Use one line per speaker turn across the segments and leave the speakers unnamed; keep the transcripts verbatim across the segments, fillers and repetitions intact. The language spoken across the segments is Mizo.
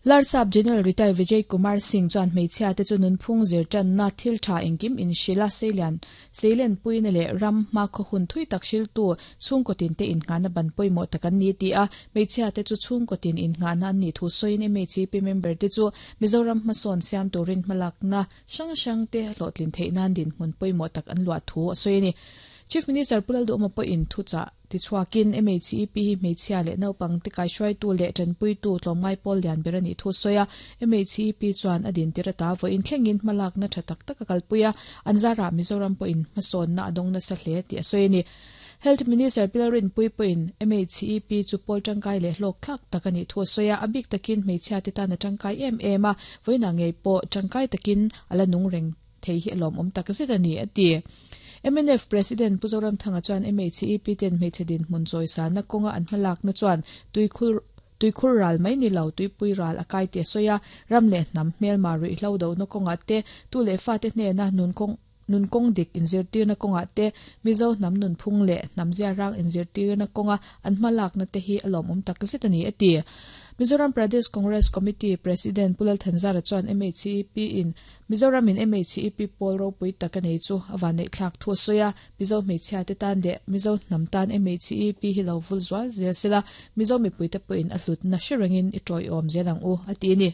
Larsap General Retired Vijay Kumar Singh chuan hmeichhia te chu nunphung zir tanna thil tha engkim in hrila seilian seilen puina leh ram hma khaw hun thui tak hriltu chhungkaw tin te innghahna ban pawimawh tak an ni ti a hmeichhia te chu chhungkaw tin innghahna an nih thu sawiin M H E P member te chu Mizoram hmasawn siam turin hmalakna hrang hrang te hlawhtlin theih nan dinhmun pawimawh tak an luah thu a sawi a ni. Chief Minister Pu Lalduhoma pawhin thuchah tichhuakin M H E P hi hmeichhia leh naupang te kaihruaitu leh tanpuitu tlawmngai pawl lian ber a nih thu sawi a. M H E P chuan a din tir ata vawiin thlengin hmalakna tha tak tak a kalpui a, an zarah Mizoram pawhin hmasawnna a dawng nasa hle tih a sawi a ni. Health Minister Pi Lalrinpuii pawhin M H E P chu pawl tangkai leh hlawk thlak tak a nih thu a sawi a, a bik takin hmeichhia te tan a tangkai em em a, vawiinah ngei pawh tangkai takin a la nung reng thei hi a lawmawm tak zet a ni a ti. M N F President Pu Zoramthanga chuan M H E P ten hmeichhe dinhmun chawisana kawnga an hmalakna chuan tuikhur tuikhur ral mai ni lo tuipui ral a kai ti a sawi a, ram leh hnam hmelma ruihhlo do na kawnga te tu leh fa te hnena nunkawng nunkawng dik inzirtirna kawnga te Mizo hnam nunphung leh hnam ziarang inzirtirna kawnga an hmalakna te hi a lawmawm tak zet a ni a ti. Mizoram Pradesh Congress Committee President Pu Lal Thanzara chuan M H E P in Mizoram in M H E P pawl ropui tak a nei chu awan neih thlak thu a sawi a, Mizo hmeichhia te tan leh Mizo hnam tan M H E P hi lo vul zual zel sela, Mizo mipui te pawhin a hlutna hre rengin i tawiawm zel ang u a ti a ni.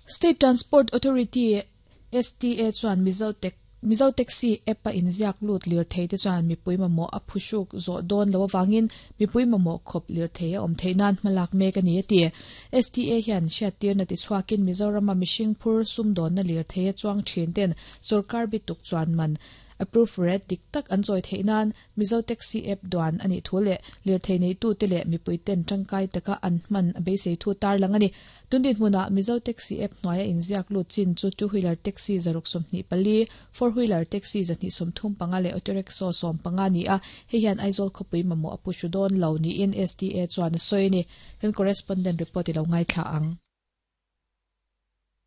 State Transport Authority S T A chuan Mizo Tech Mizo Taxi app a inziak lut lir thei te chuan mipui mamawh a phuhruk zawh dawn lo awangin mipui mamawh khawp lir thei a awm theih nan hmalak mek a ni a ti. S T A hian hriattirna tichhuakin Mizorama mihring phur sumdawnna lir thei a chuang thin ten sarkar bituk chuan man approve rate dik tak an chawi theih nan Mizo Taxi app duan ani thu leh lir thei nei tu te leh mipui ten tangkai taka an hman a beisei thu tar lang ani. Tundin hmuna Mizo Taxi app hnuaia inziak lut chin chu two wheeler taxi zaruk sawmhnih pali, four wheeler taxi zahnih sawmthum panga leh auto rickshaw sawm panga ni a, hei hian Aizawl khawpui mamawh a pu dawn lo niin S T A chuan a sawi ni. Kan correspondent report i lo ngai thla ang.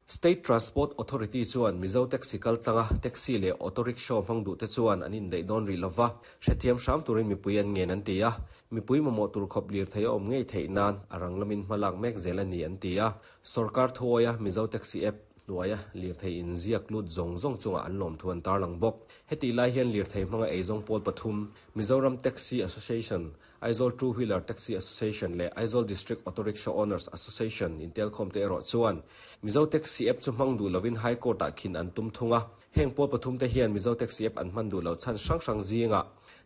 State Transport Authority chuan Mizo Taxi kaltlanga taxi leh auto rickshaw hmang duh te chuan an indaih dawn rih lova, hrethiam hram turin mipui an ngen an ti a, mipui mamawh tur khawp lir thei a awm ngei theih nan a rang lamin hmalak mek zel a ni an ti a. Sarkar thuawia Mizo Taxi app hnuaia lir thei inziak lut zawng zawng chunga an lawm thu an tarlang bawk. Heti lai hian lir thei hmanga eizawng pawl pathum Mizoram Taxi Association, Aizawl Two Wheeler Taxi Association leh Aizawl District Auto Rickshaw Owners Association intelkhawm te erawh chuan Mizo Taxi app chu hmang duh lovin High Court ah khin an tum thunga. Heng pawl pathum te hian Mizo Taxi app an hman duh lo chhan hrang hrang zinga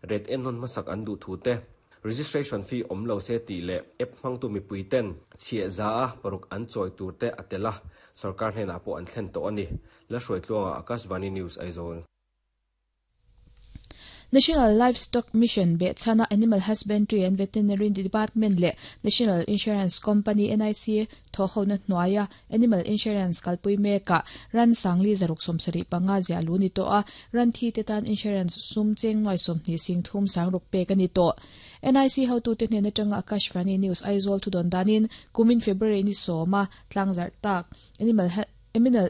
rate en nawn hmasak an duh thu te, registration fee awm lo se tih leh app hmangtu mipui ten chhiah za a paruk an chawi tur te a tel a, sarkar hnenah pawh an thlen tawh a ni. La hruai tluanga, Akashvani News, Aizawl.
National Livestock Mission be chana Animal Husbandry and Veterinary Department le National Insurance Company N I C tho ho na hnuaia Animal Insurance kalpui meka ran sangli zaruk somsari panga zia lu ni to a, ran thi te tan insurance sum cheng noi som ni sing thum sang ruk pe ka ni to. N I C hotu te hnen atanga Akashvani News Aizawl thu don danin kumin February ni soma tlangzar tak Animal Animal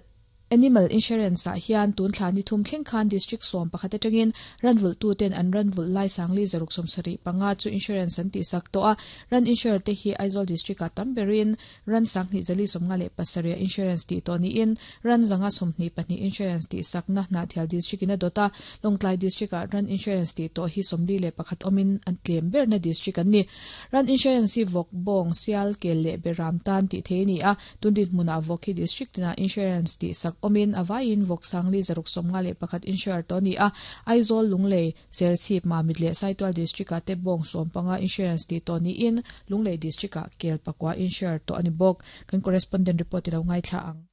Animal Insurance ah hian tun thla ni thum thleng khan district sawm pakhat atangin ranvul tu ten an ranvul lai sangli zaruk sawmsarih panga chu insurance an ti sak to a. Ran insure te hi Aizawl district a tamberin ran sanghnih zali sawmnga leh pasarih insurance ti to ni in ran zanga sawmhnih pahnih insurance ti sakna Hnahthial district in a dota. Lawngtlai district ah ran insurance ti to hi sawmli leh pakhat awmin an tlem berna district an ni. Ran insurance hi vawk, bawng, sial, kel leh beram tan ti thei ni a. Tundin hmuna vawk hi district tina insurance ti sak omin awaiin vawk sangli zaruk sawmnga leh pakhat insure to ni a. Aizawl, Lunglei, Serchhip, Mamit leh Saitual district ah te bawng sawm panga insurance ti to ni in Lunglei district ah kel pakua insure to ani bawk. Kan correspondent report i lo ngai thla ang.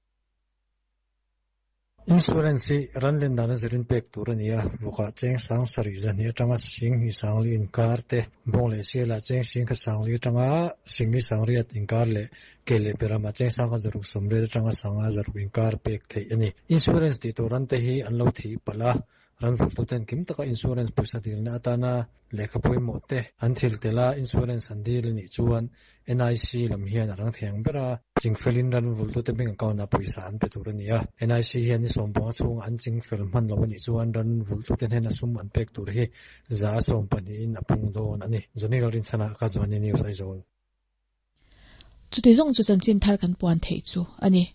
Insurance hi ran len dana zirin pek tur ania. Vawkah cheng sang sarih zahnih atanga sing hi sangli inkar te, bawng leh sialah cheng sing kha sangli atanga singli sangriat inkar leh ke leh berama cheng sang kha zaruk sawmriat atanga sanga zaruk inkar pek theih ani. Insurance ti tur ran te hi an lo thi pala ran vul tu ten kim taka insurance pawisa dilna atana lehkha pawimawh te an thil tela insurance an dil anih chuan N I C lam hian a rang thiang bera chingfelin ran vul tu te bank account ah pawisa an pe tur ani a. N I C hian ni sawm panga chhung an chingfel hman lo anih chuan ran vul tu te hnen a sum an pek tur hi za sawm pahnih in a pung dawn ani. Johnny Lalrinchhana, Akashvani News, Aizawl.
Chuti zong chu chanchin thar kan puan thei chu ani.